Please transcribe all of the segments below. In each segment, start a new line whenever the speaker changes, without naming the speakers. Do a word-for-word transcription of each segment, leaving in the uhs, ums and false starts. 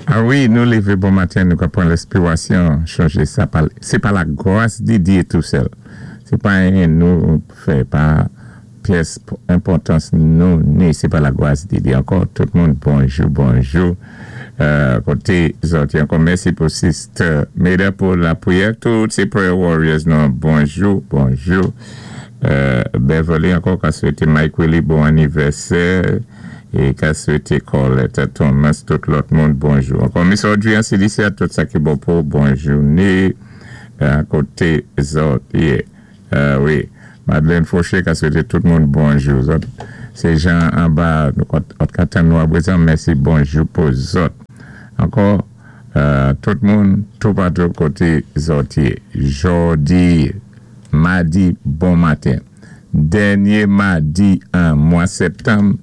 Ah wi, nou lévé bon maten, nou ka pwan lenspiwasyon, chanjé sa, sé pa la gwas di Diyé tou sèl. Sé pa anyen nou fè, pa pyès enpòtans nou ni, sé pa la gwas di Diyé. Ankò, tout moun, bonjou, bonjou. Koté zòt, ankò mèsi pou Sister Meda pou lapwiyè. Tout sé prayer warriors nou, bonjou, bonjou. Beverly ankò ka swété Mike Willie bon anivèsè é ka swété Colette Thomas, tout lòt moun, bonjou. Ankò Miss Audrey an C D C, tout sa ki bon pou bonjouné koté zòt yé. Wi, Madeleine Fauché ka swété tout moun bonjou. Zòt, sé jan anba, nou ka tann nou aprezan, mèsi, bonjou pou zòt. Ankò, tout moun, toupatou koté zòt yé. Jòdi, madi, bon maten. Dènyé madi an mwa septanm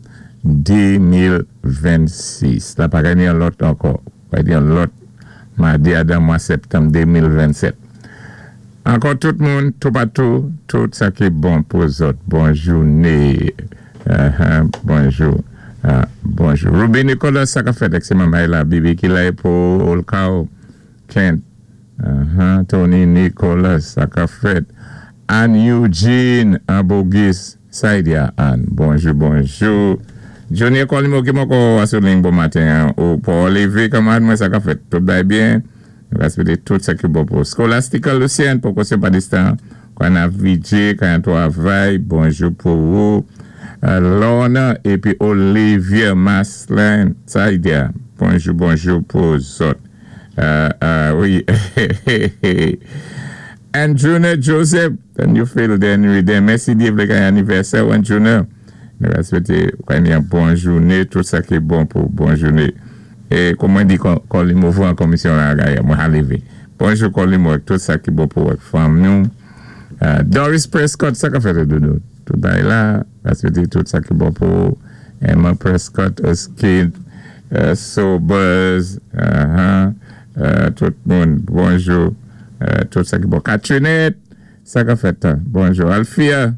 de mil vennsis. La pa genyen yon lòt ankò. Pa genyen yon lòt madi adan mwa septanm de mil vennsèt. Ankò tout moun, toupatou, tout sa ki bon pou zòt. Bonjouné. Bonjou. Bonjou. Ruby Nicolas, sa ka fèt ek se mamay la, Bibi ki la pou Olkao, Kent. Tony Nicolas, sa ka fèt. Ann Eugene, Abogis, Saidia Ann. Bonjou, bonjou. Johnny Colimo ki moko asouling bon maten. Ou pou Olivier, kamarad mwen, sa ka fèt? Tout bay byen? Respecte tout sa ki bon pou Scholastica Lucien, pou kosyon pa distan. Kwa na V J, kwa yon travay, bonjou pou ou. Lorna, epi Olivier Maslin, Saidia, bonjou, bonjou pou zòt. Wi. Andrewna Joseph, and you feel den, mèsi Diyé vlé kay anivèsè, Andrewna. Nou va swété kay yon bon jouné, tout sa ki bon pou bon jouné. É kòm mwen di Colimo an komisyon la, mwen a lévé. Bonjou Colimo, tout sa ki bon pou fanmi nou. Doris Prescott, sa ka fèt doudou? Tout bay la, va swété tout sa ki bon pou Emma Prescott, Oskid, Sobers, tout moun, bonjou, tout sa ki bon. Katrinette, sa ka fèt, bonjou. Alfia,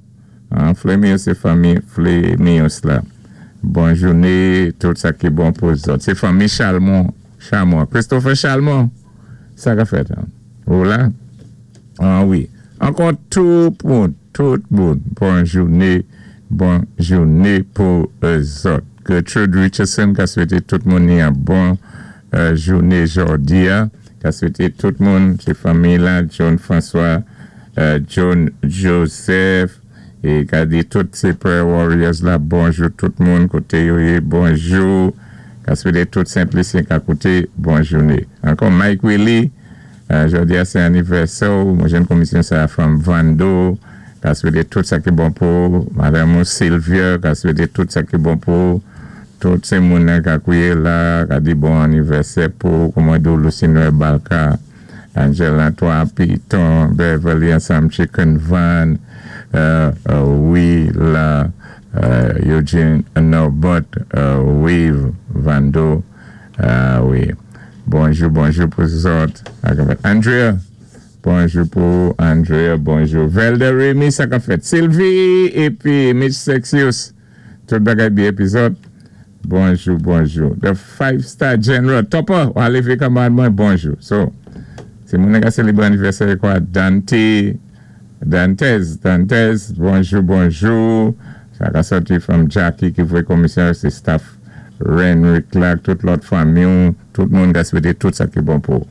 Flemius, sé fanmi Flemius la. Bonjouné, tout sa ki bon pou zòt. Sé fanmi Chalmon, Chalmon, Christopher Chalmon, sa ka fèt. Ou la? Ah wi. Ankò tout moun, tout moun, bonjouné, bonjouné pou zòt. Gertrude Richardson ka swété tout moun ni yon bon jouné jòdi a. Ka swété tout moun, sé fanmi la, John François, John Joseph, é ka di tout sé prayer warriors la, bonjou tout moun, koté yo yé, bonjou. Ka swété tout Simplicien ka koté, bonjouné. Ankò Mike Willie, jòdi a sé anivèsè, mwen jwenn komisyon sa from Vando, ka swété tout sa ki bon pou Madame Sylvia, ka swété tout sa ki bon pou tout sé moun ka kouwé la, ka di bon anivèsè pou, kòman dou Lucinoe Balka, Angela Antoine Piton, Beverly Ansam Chicken Van, wi la, Eugene Norbert, wi Vando, wi. Bonjou, bonjou pou zòt. Andrea, bonjou pou Andrea, bonjou. Velda Remy, sa ka fèt. Sylvie, épi Mitch Sexius, tout bagay byen épi zòt. Bonjou, bonjou. The Five Star General, Topper, w a lévé kanmarad mwen, bonjou. So, sé moun ka sélébré anivèsè kwa, Dante, Dantes, Dantes, bonjou, bonjou. Sa ka sòti from Jackie ki voyé komisyon, sé staff Renwick Clark, tout lòt fanmi, tout moun ka swété tout sa ki bon pou.